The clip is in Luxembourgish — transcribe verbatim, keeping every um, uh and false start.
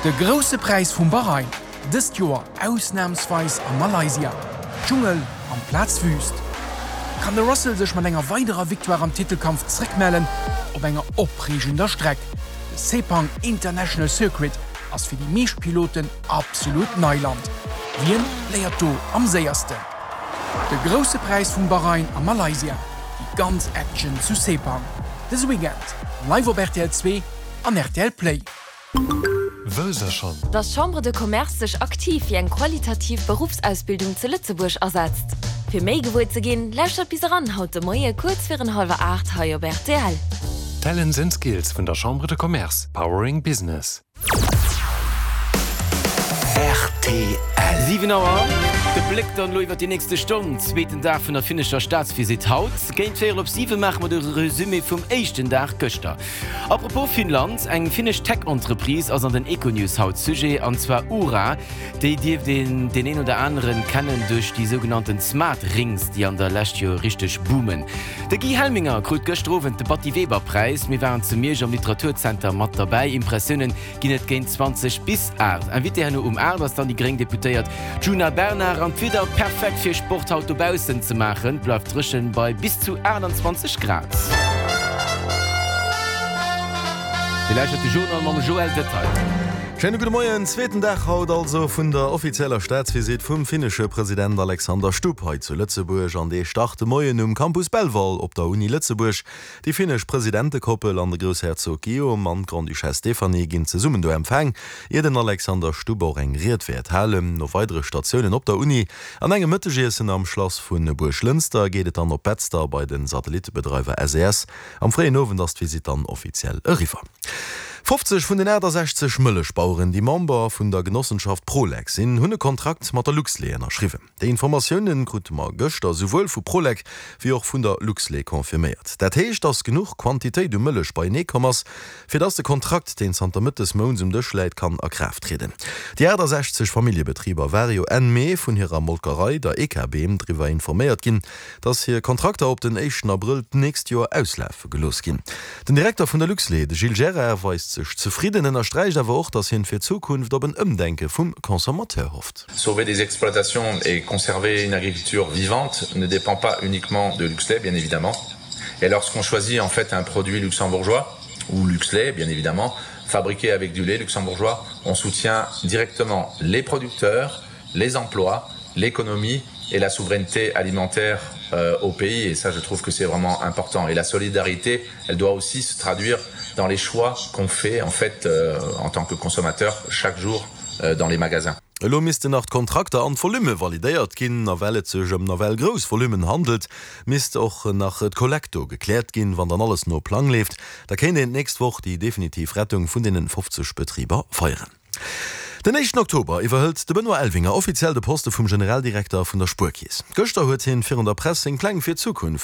De Grousse Präis vum Bahrain, dëst Joer ausnamsweis a Malaysia. Dschungel amplaz Wüüst. Kann de Russell sech mat enger weiderer Victoire am Titelkampf zréckmellen op enger opreegender Streck? De Sepang International Circuit ass fir déi meescht Piloten absolut Neiland. Wien léiert do am séiersten? De Grousse Präis vum Bahrain a Malaysia, déi ganz Action zu Sepang. Dëse Weekend live op R T L zwee an R T L Play. Wësst der schonn? Dass d'Chambre de Commerce sech aktiv fir eng qualitativ Beruffsausbildung zu Lëtzebuerg asetzt. Fir méi gewuer ze ginn, lauschtert bis eran haut de Moie kuerz virun hallwer aacht hei op R T L. Talents and Skills vun der Chambre de Commerce, Powering Business. R T L. Siwen Auer, de Bléck dann elo iwwer déi nächste Stonn, Zweeten Dag vun der finnescher Staatsvisitt haut. Géint véierel op siwe maache mer de Resumé vum éischten Dag gëschter. A propos Finnland, eng finnesch Tech-Entreprise ass an den Econews haut Sujet, an zwar Oura. Déi dierft een deen een oder aneren kennen duerch déi sougenannten Smart Rings, déi an der Lescht jo richteg boomen. De Guy Helminger krut gëschter Owend de Batty Weber Präis. Mir waren zu Miersch am Literaturzenter mat derbäi. Impressiounen ginn et géint zwanzeg bis aacht. Invité herno um aacht ass dann déi gréng Deputéiert Djuna Bernard. An d'Wieder perfekt fir Sport haut dobaussen ze maachen, bleift dréchen bei bis zu aachtanzwanzeg Grad. Dir lauschtert de Journal mam Joël Detail. Schéine gudde Moien. Zweeten Dag haut also vun der offizieller Staatsvisitt vum finnesche President Alexander Stubb hei zu Lëtzebuerg. An dee start de Moien um Campus Belval op der Uni Lëtzebuerg. Déi finnesch Presidentekoppel an de Groussherzog Guillaume an d'Grande-Duchesse Stéphanie ginn zesummen do empfaang, ier den Alexander Stubb och eng Ried wäert halen. No weidere Statiounen op der Uni an engem Mëttegiessen am Schlass vu Buerglënster geet et dann op Betzder bei de Satellittebedreiwer S E S. Am fréien Owend ass d'Visitt dann offiziell eriwwer. fofzeg vun den aachtasechzeg Mëllechbaueren, déi Member vun der Genossenschaft Prolec sinn, hunn e Kontrakt mat der Luxlait ënnerschriwwen. Déi Informatioune krute mer gëschter souwuel vu Prolec wéi och vun der Luxlait confirméiert. Dat heescht, datt genuch Quantitéit u Mëllech beienee komm ass, fir datt de Kontrakt, deen zanter Mëtt des Mounts um Dësch läit, kann a Kraaft trieden. Déi aachtasechzeg Familljebetriber ware jo Enn Mee vun hirer Molkerei, der E K B, driwwer informéiert ginn, datt hir Kontrakter op den éischten Abrëll d'nächst Joer auslafe gelooss ginn. Den Direkter vun der Luxlait, de Gilles Gerard, weist sech zefridden, ënnersträicht awer och, datt hien fir d'Zukunft op en Ëmdenke vum Consommateur hofft. Sauver des exploitations et conserver une agriculture vivante ne dépend pas uniquement de Luxlait, bien évidemment. Et lorsqu'on choisit en fait un produit luxembourgeois, ou Luxlait, bien évidemment, fabriqué avec du lait luxembourgeois, on soutient directement les producteurs, les emplois, l'économie et la souveraineté alimentaire, euh, au pays. Et ça, je trouve que c'est vraiment important. Et la solidarité, elle doit aussi se traduire dans les choix qu'on fait en fait, euh, en tant que consommateur chaque jour, euh, dans les magasins. Elo missten nach d'Kontrakter an d'Volumme validéiert ginn, a well et sech ëm nawell grouss Volummen handelt, misst och nach d'Kollekt do gekläert ginn. Wann dann alles no Plang leeft, da kéint een d'nächst Woch déi definitiv Rettung vun deenen fofzeg Betriber feieren. Den éischten Oktober iwwerhëlt de Benoît Elvinger offiziell de Poste vum Generaldirekter vun der Spuerkeess. Gëschter huet hien virun der Press seng Pläng fir d'Zukunft